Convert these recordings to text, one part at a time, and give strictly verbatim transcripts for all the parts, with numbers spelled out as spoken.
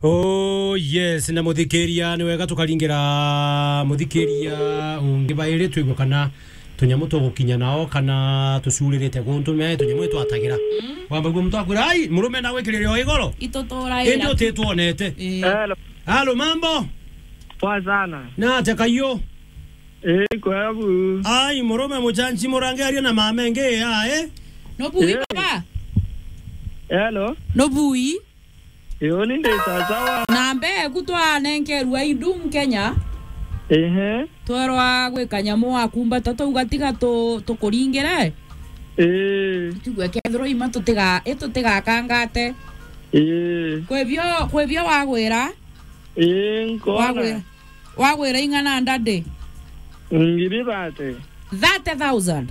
Oh yes, na muthikiria, ni wega tukaringira muthikiria ungi bairi twigue kana tunyamu tugukinya nao kana tucuririte guntu me tunyamu itwatagira. Mm. Wamba guo muntu akwira, "Ai, murume na gwikirire o igoro." Itutura indi ira. Utitwonete. Ii. Hello. Halo, mambo? Poa sana. Na atia kaio? Ii, kwega bu. Ai, murume muchanchi murange aria na mama ingi ya, eh? No bui, eh, baba? Hello. No bui? Ii, uni ndi sasawa. Na mbee ku twanenkerua idum Kenya. Ehe. Twerwa gwi kanyamu wakumbata twauga tiga tu-, tukuringire. Ii. Tuigue kethirwa ima tutiga-, i tutigakangate. Ii. Kwibio, kwibio wagwira? Ii, nkona. Wagwira, wagwira ing'ana ndadi? Ngiri thate. Thirty thousand?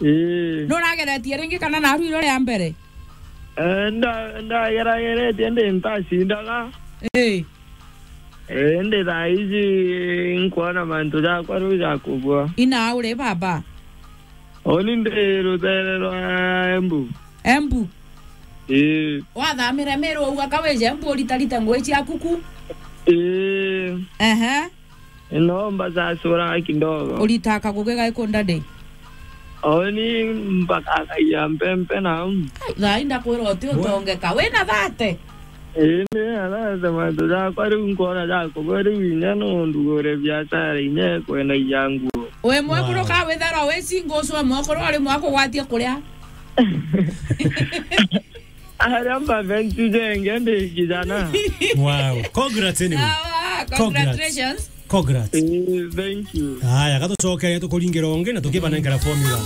Ii. Nurageretie ringi kana naru iro ria mbere? Eh, nda-, ndagerageretie ndi ntacindaga. Ii. Eh, ndi thaa ici nkwona mantu jakwa riu jakubua. Ina uri baba? Uni ndi rutere rwa Embu. Embu? Ii. Wathamire Meru uga kawije Embu uritarite ngui ciaku ku? Ii. Ehe. Nomba sasura kidogo. Urita kaguge gaiku ndadi? Oni mpaka akaia mpempe na. Ai, thaa ii ndakwira uti utongeka. Wina thate? Ii, ni arata mantu jakwa riu nkona jakubua riu inya no ndugure biashara inya kwendagia nguo. Wi mwekuru. Wow. Ka witharwa wi single ucio mwekuru ari mwakugwatia kuria? Aria mabentu jenge ndi kijana. Wow. Congrats anyway. Sawa, congrats. Congratulations. Congrats. Eh, thank you. Aya, gatucokeria tukuringira ungi na tukibanengera formula.